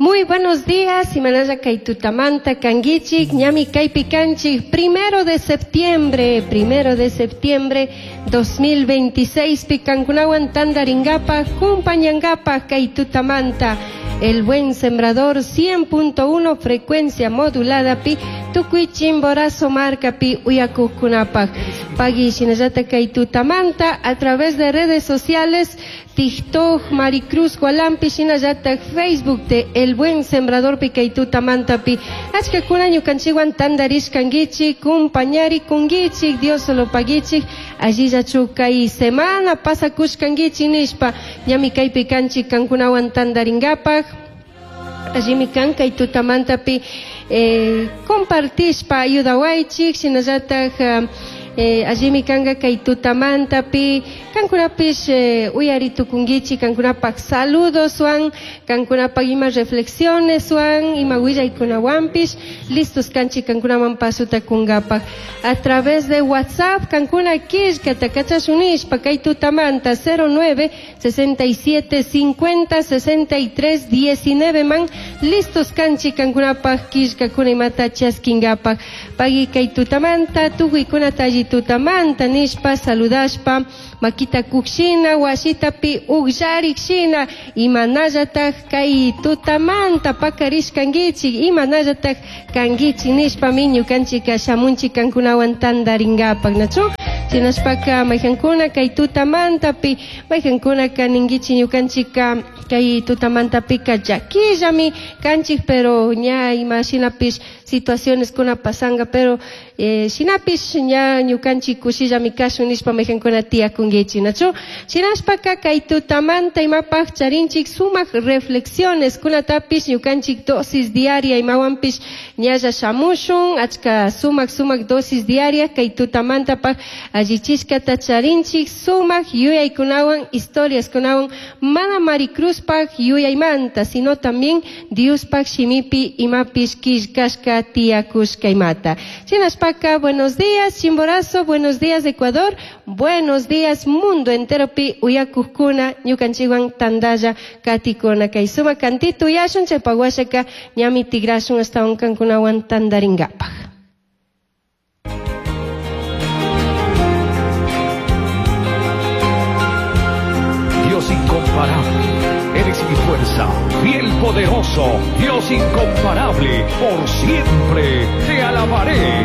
Muy buenos días, Imanalla kay tutamanta kankichik, ñami kaypi kanchik, 1 de septiembre, 1 de septiembre 2026, pi kankunawan tandaringapaj, kumpañangapaj kay tutamanta, El Buen Sembrador 100.1 frecuencia modulada pi, tukuy Chimborazo markapi uyakujkunapaj. Pagui shinallata kay tutamanta a través de redes sociales, TikTok, Maricruz Gualampi, shinallata Facebook de El Buen Sembrador pi kay tutamantapi. Achkakuna ñukanchikwan tandarishkankichik, kumpañari kunkichik, Dios solo paguichik, allillachu kay semana pasakushkankichik nishpa, ñami kaypi kanchik kankunawan tandaringapaj. Allimi kan kay tutamantapi compartishpa ayudawaychik, shinallataj allimi kanka kay tutamantapi kankunapish uyari tukunkichik kankunapaj saludoswan, kankunapaj ima reflexioneswan, ima willaykunawanpish listos kanchik kankunaman pasuta kunkapaj. A través de WhatsApp kankuna killkata kachashun nishpa kay tutamanta 09 67 50 63 19 man listos kanchik kankunapaj killkakuna imata chaskinkapaj. Pagui kay tutamanta tukuykunata alli tutamanta nishpa saludashpa makita kukshina wasitapi ukllarik shina imanallataj kay tutamanta pakarishkankichik imanallataj kankichik nishpami ñukanchika shamunchik kankunawan tandaringapaj, nachu? Shinashpaka mayjankuna kay tutamantapi mayjankunaka ninkichik ñukanchika kay tutamantapika llaquillami kanchik, pero ña ima shinapish situaciones kuna pasanga, pero shinapish ña ñukanchik kushillami kashun nishpa mayjankuna tiyakunkichik, nachu? Shinashpaka kay tutamanta imapaj charinchik sumak reflexiones kunatapish ñukanchik dosis diaria imawanpish ñalla shamushun achka sumak sumak dosis diaria kay tutamantapaj allichishkata charinchik sumak yuyaykunawan, historiaskunawan, mana Maricruzpaj yuyaymanta, sino también Diospaj shimipi imapish killkashka tiyakushka imata. Shinashpaka buenos días Chimborazo, buenos días Ecuador, buenos días mundo entero pi uyakujkuna ñukanchikwan tandalla katikuna. Kay sumak cantito uyashun chaypa washaka ñami tigrashun ashtawan kankunawan tandaringapaj. Dios incomparable, eres mi fuerza, fiel poderoso, Dios incomparable, por siempre te alabaré.